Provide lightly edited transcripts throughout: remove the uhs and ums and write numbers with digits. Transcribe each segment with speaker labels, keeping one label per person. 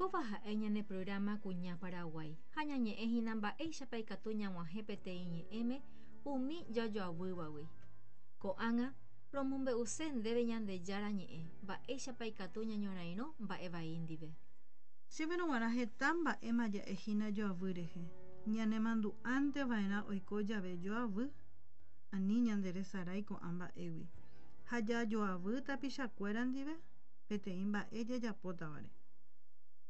Speaker 1: Kóva ha'e ñane programa Kuña Paraguái ha ñañe'ẽ hína mba'éichapa ikatu ñag̃uahẽ peteĩ ñe'ẽme umi jajoavývagui. Ko'ág̃a romombe'use ndéve Ñandejára ñe'ẽ mba'éichapa ikatu ñañorairõ mba'e vai ndive.
Speaker 2: Chéverõ g̃uarã heta mba'éma ja'e hína joavy rehe, ñanemandu'ánte va'erã oiko jave joavy, ani ñanderesarái ko'ã mba'égui, ha jajoavy tapichakuéra ndive peteĩ mba'e jajapótavare.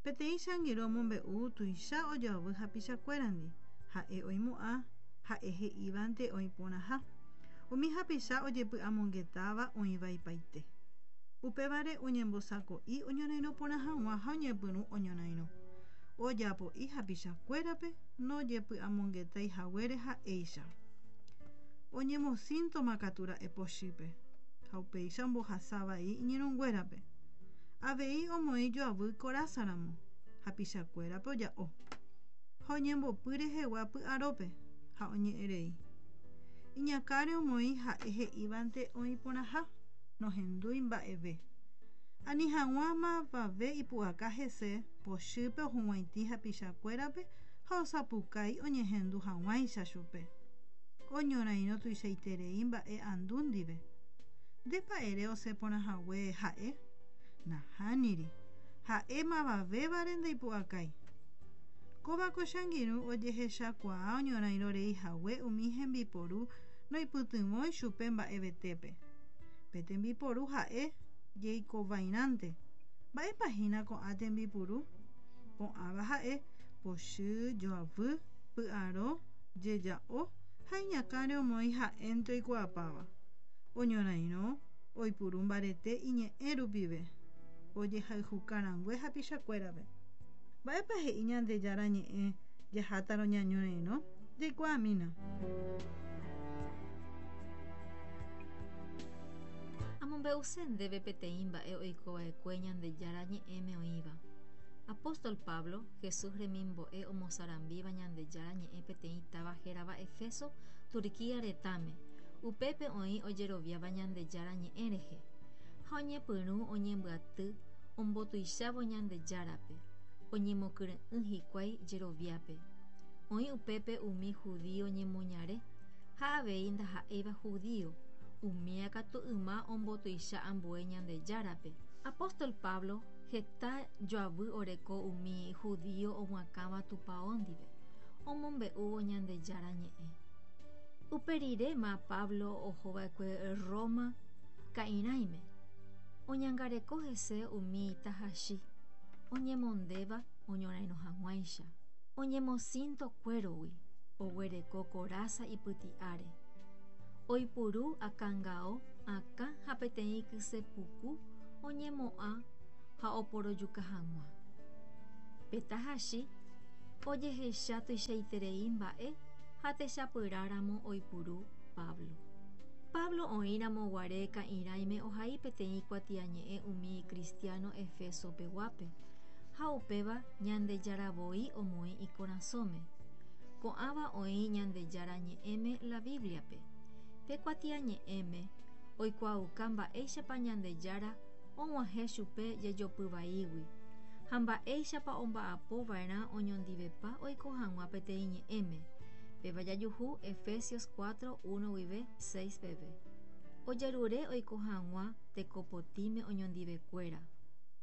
Speaker 2: Peteĩ che angirũ omombe'u tuicha ojoavy hapichakuérandi, ha'e oimo'ã ha'e he'ívante oĩ porãha. Umi hapicha ojepy'amongetáva oĩvaipaite. Upévare oñembosako'i oñorairõ porã hag̃ua ha oñepyrũ oñorairõ. Ojapo'i hapichakuérape nojepy'amongetái haguére ha'éicha. Oñemosíntoma katu ra'e pochýpe, ha upéicha ombohasa vai iñirũnguérape. Avei omoĩ joavy korásaramo, hapichakuérape oja'o. Ha oñembopy rehegua py'arópe, ha oñe'ẽrei. Iñakãre omoĩ ha'e he'ívante oĩ porãha, nohendúi mba'eve. Ani hag̃ua mavave ipu'aka hese, pochýpe ohug̃uaitĩ hapichakuérape ha osapukái oñehendu hag̃uáicha chupe. Oñorairõ tuichaiterei mba'e andu ndive. Ndépa ere osẽ porã hague ha'e? Nahániri. Ha'e mavavévare ndaipu'akái. Kóva ko che angirũ ojehechakuaa oñorairõ rei hague umi hembiporu noipytyvõi chupe mba'evetépe. Pe tembiporu ha'e jeikovairãnte. Mba'épa hína ko'ã tembipuru? Ko'ãva ha'e, pochy, joavy, py'aro, jeja'o ha iñakãre omoĩ ha'énte oikuaapáva. Oñorairõ, oipuru mbarete iñe'ẽ rupive, ojehayhuka rangue hapichakuérape. Mba'épa he'i Ñandejára Ñe'ẽ jahátarõ ñañorairõ? Jaikuaamína.
Speaker 1: Amombe'use ndéve peteĩ mba'e oikova'ekue Ñandejára Ñe'ẽme oĩva. Apóstol Pablo, Jesús remimbo'e omosarambíva Ñandejára Ñe'ẽ peteĩ táva hérava Efeso, Turquía retãme, upépe oĩ ojeroviáva Ñandejára Ñe'ẽ rehe. Ha oñepyrũ oñembyaty ombotuichávo Ñandejárape, oñemokyre'ỹ hikuái jeroviápe. Oĩ upépe umi judío ñemoñare ha avei ndaha'éiva judío, umía katu yma ombotuicha ambue Ñandejárape. Apóstol Pablo heta joavy oreko umi judío omoakãva tupao ndive, omombe'úvo Ñandejára Ñe'ẽ. Upe riréma Pablo oho va'ekue Roma ka'irãime, oñangareko hese umi tahachi oñemondéva oñorairõ hag̃uáicha, oñemosínto kuérogui, oguereko korása ipyti'áre, oipuru akãngao akã ha peteĩ kyse puku oñemo'ã ha oporojuka hag̃ua. Pe tahachi ojehecha tuichaiterei mba'e ha techapyrãramo oipuru Pablo. Pablo oĩramo guare ka'irãime ohai peteĩ kuatiañe'ẽ umi kristiáno Efeso peguápe, ha upéva Ñandejára voi omoĩ ikorasõme. Ko'ãva oĩ Ñandejára Ñe'ẽme la Bíbliape. Pe kuatiañe'ẽme oikuaauka mba'éichapa Ñandejára og̃uahẽ chupe jejopy vaígui, ha mba'éichapa omba'apo va'erã oñondivepa oiko hag̃ua peteĩ ñe'ẽme, péva jajuhu Efesios 4, 1 guive 6 peve. Ojerure oiko hag̃ua tekopotĩme oñondivekuéra,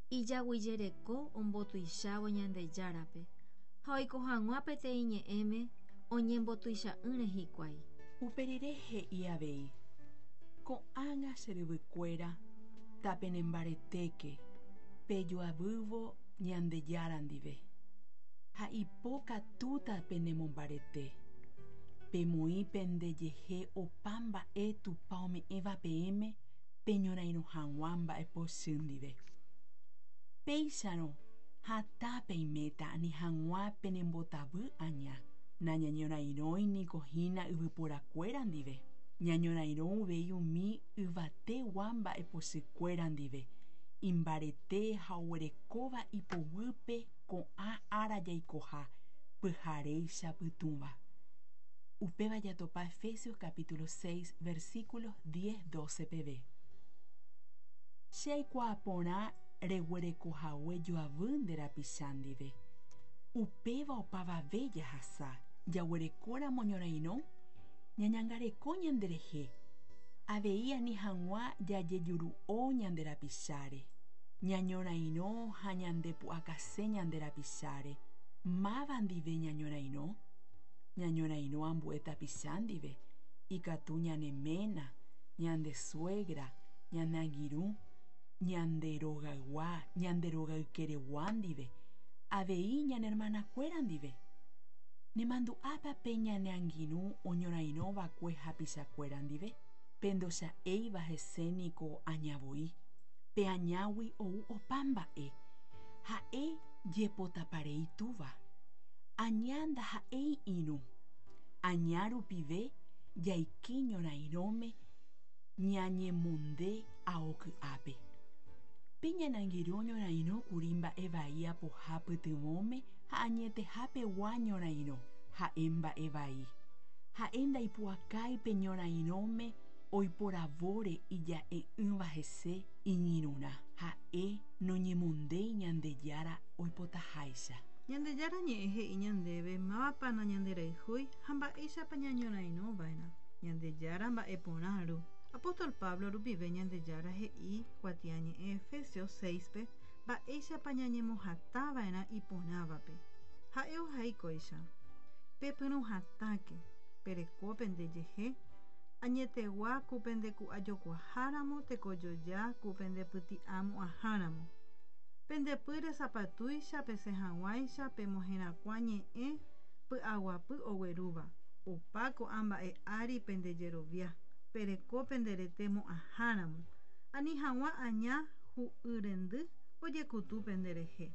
Speaker 1: ijaguijereko ombotuichávo Ñandejárape, ha oiko hag̃ua peteĩ ñe'ẽme oñembotuicha'ỹre hikuái.
Speaker 3: Uperire he'i avei, Ko'ág̃a che ryvykuéra, tapenembaretéke, pejoavývo Ñandejára ndive, ha ipo katúta penemombarete. Pemoĩ pendejehe opa mba'e Tupã ome'ẽva peẽme peñorairõ hag̃ua mba'epochy ndive. Péicharõ hatã peiméta ani hag̃ua penembotavy aña. Nañañorairõi niko hína yvyporakuéra ndive, ñañorairõ uvei umi yvategua mba'epochykuéra ndive, imbarete ha oguerekóva ipoguýpe ko'ã ára jaikoha pyharéicha pytũva. Upéva jatopa Efesios capítulo 6 versículos 10, 12 peve. Che aikuaa porã Reguerekohague joavy nde rapicha ndive. Upéva opavave jahasa, jaguerekóramo ñorairõ, ñañangareko ñanderehe, avei ani hag̃ua jajejuru'o ñande rapicháre. Ñañorairõ ha ñandepu'akase ñande rapicháre. Máva ndive ñañorairõ? Ñañorairõ ambue tapicha ndive, ikatu ñane ména, ñande suegra, ñane angirũ, ñande rogaygua, ñande rogaykeregua ndive, avei ñane hermanakuéra ndive. Nemandu'ápa pe ñane angirũ oñorairõva'ekue hapichakuéra ndive? Pe ndocha'éiva hese niko aña voi. Pe añágui ou opa mba'e. Ha'e jepotaparei túva. Aña ndaha'éi irũ. Aña rupive jaike ñorairõme ñañemonde ao ky'ápe. Pe ñane angirũ oñorairõ kuri mba'e vai apoha pytyvõme ha añetehapegua ñorairõ, ha'e mba'e vai. Ha'e ndaipu'akái pe ñorairõme oiporavóre ija'e'ỹva hese iñirũrã. Ha'e noñemondéi Ñandejára oipotaháicha.
Speaker 2: Ñandejára Ñe'ẽ he'i ñandéve mávapa nañanderayhúi ha mba'éichapa ñañorairõva'erã. Ñandejára mba'eporã Ru. Apóstol Pablo rupive Ñandejára he'i kuatiañe'ẽ Efesios 6-pe mba'éichapa ñañemohatãva'erã iporãvape. Ha'e ohai kóicha, Pepyrũ hatãke, pereko pende jehe, añetegua ku pende ku'ajokuaháramo tekojoja ku pende pyti'amo'ãháramo. Pende pýre sapatúicha pesẽ hag̃uáicha pemoherakuã ñe'ẽ py'aguapy oguerúva, opa ko'ã mba'e ári pende jerovia, pereko pende rete mo'ãháramo, ani hag̃ua aña hu'y rendy ojekutu pende rehe.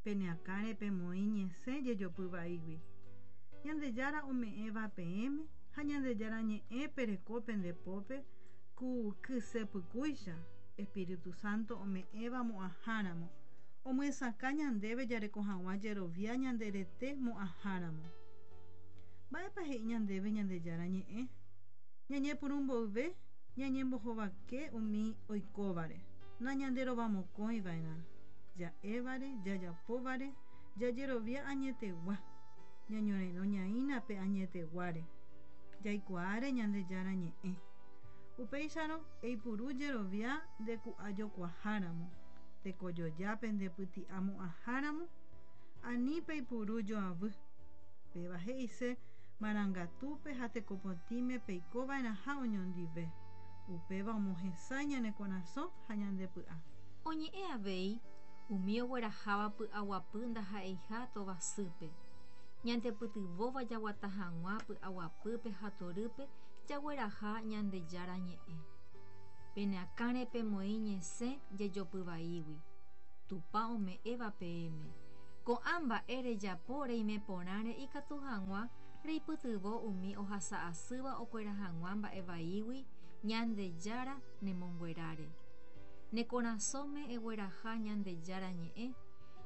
Speaker 2: Pene akãre pemoĩ ñesẽ jejopy vaígui. Ñandejára ome'ẽva peẽme ha Ñandejára ñe'ẽ pereko pende pópe ku kyse pykúicha, Espíritu Santo ome'ẽva mo'ãháramo, omyesakã ñandéve jareko hag̃ua jerovia ñande rete mo'ãháramo. Mba'épa he'i ñandéve Ñandejára ñe'ẽ? Ñañepyrũ mboyve ñañembohovake umi oikóvare, nañanderovamokõiva'erã, ja'évare, jajapóvare, jajerovia añetegua, ñañorairõ ñaína pe añeteguáre, jaikuaáre Ñandejára ñe'ẽ. Upéicharõ, eipuru jerovia nde ku'ajokuaháramo, tekojoja pende pyti'amo'ãháramo, ani peipuru joavy. Péva he'ise marangatúpe ha tekopotĩme peikova'erãha oñondive, upéva omohesãi ñane korasõ ha ñande py'a.
Speaker 1: Oñe'ẽ avei umi ogueraháva py'aguapy ndaha'eiha tovasýpe. Ñandepytyvõva jaguata hag̃ua py'aguapýpe ha torýpe jagueraha Ñandejára ñe'ẽ. Pene akãre pemoĩ ñesẽ jejopy vaígui, Tupã ome'ẽva peẽme. Ko'ã mba'e rejapo reime porãre ikatu hag̃ua reipytyvõ umi ohasa asýva okuera hag̃ua mba'e vaígui Ñandejára nemongueráre. Ne korasõme egueraha Ñandejára ñe'ẽ,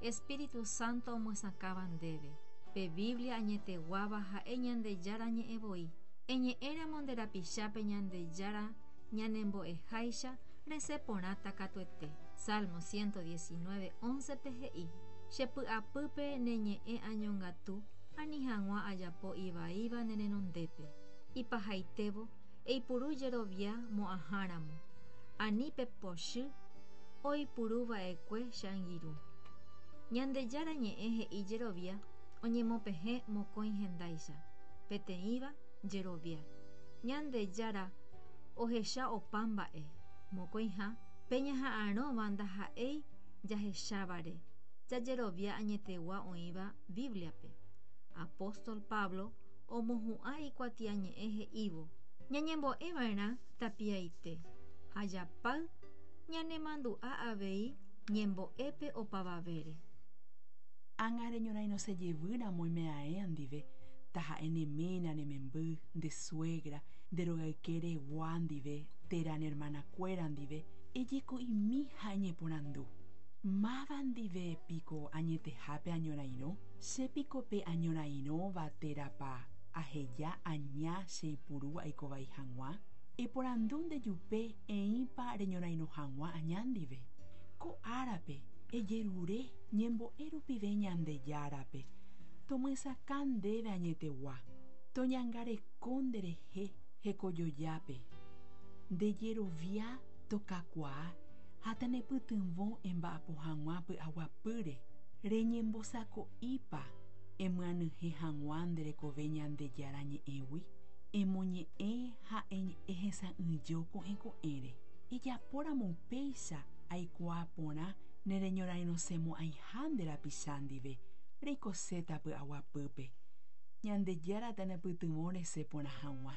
Speaker 1: Espíritu Santo omyesakãva ndéve. Pe Biblia añeteguáva ha'e Ñandejára ñe'ẽ voi. Eñe'ẽramo nde rapichápe Ñandejára ñanembo'eháicha resẽ porãta katuete. Salmo 119, 11-pe he'i, Che py'apýpe ne ñe'ẽ añongatu, ani hag̃ua ajapo ivaíva ne renondépe. Ipahaitévo, eipuru jerovia mo'ãháramo, ani pe pochy oipuruva'ekue che angirũ. Ñandejára ñe'ẽ he'i jerovia oñemopehẽ mokõi hendáicha. Peteĩva, jerovia. Ñandejára ohecha opa mba'e. Mokõiha, pe ñaha'arõva ndaha'éi jahechávare, jajerovia añetegua oĩva Bíbliape. Apóstol Pablo omohu'ã ikuatiañe'ẽ he'ívo, Ñañembo'eva'erã tapiaite ha japáy ñanemandu'a avei ñembo'épe opavavére.
Speaker 3: Ág̃a reñorairõse jevy ramo oimeaẽ ndive, taha'e ne ména, ne memby, nde suegra, nde rogayke regua ndive térã ne hermanakuéra ndive, ejeko'imi ha eñeporandu, Máva ndive piko añetehápe añorairõ? Che piko pe añorairõva térãpa aheja aña che ipuru aikovai hag̃ua? Eporandu nde jupe eĩpa reñorairõ hag̃ua aña ndive. Ko árape ejerure ñembo'e rupive Ñandejárape tomyesakã ndéve añetegua, toñangareko nderehe hekojojápe, nde jerovia tokakuaa ha tanepytyvõ emba'apo hag̃ua py'aguapýre. Reñembosako'ípa emyanyhẽ hag̃ua nde rekove Ñandejára Ñe'ẽgui? Emoñe'ẽ ha ehesa'ỹijo ko'ẽ ko'ẽre. Ejapóramo upéicha aikuaa porã nereñorairõsemo'ãiha nde rapicha ndive, reikoséta py'aguapýpe. Ñandejára tanepytyvõ resẽ porã hag̃ua.